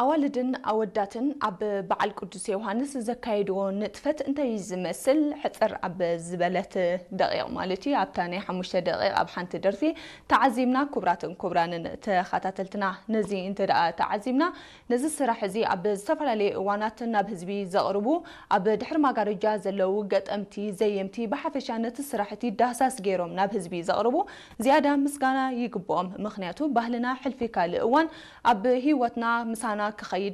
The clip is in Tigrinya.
ኣዋልድን ኣወዳትን ኣብ በዓል ቅዱስ ዮሃንስ ዘካየድዎ ንጥፈት እንታይ ዝመስል ሕጽር ኣብ ዝበለት ደቂቕ ማለት እዩ ኣብታ ናይ ሓሙሽተ ደቂቕ ኣብ ሓንቲ ደርፊ ተዓዚምና። ክቡራትን ክቡራንን ተኸታተልትና ነዚ እንተ ደኣ ተዓዚምና ነዚ ስራሕ እዚ ኣብ ዝተፈላለየ እዋናት ናብ ህዝቢ ዘቕርቡ ኣብ ድሕሪ ማጋረጃ ዘለዉ ገጠምቲ ዘየምቲ ብሓፈሻ ነቲ ስራሕ እቲ ዳህሳስ ገይሮም ናብ ህዝቢ ዘቕርቡ ዝያዳ ምስጋና ይግብኦም። ምኽንያቱ ባህልና ሕልፊ ካልእ እዋን ኣብ ህይወትና ምሳና ክኸይድ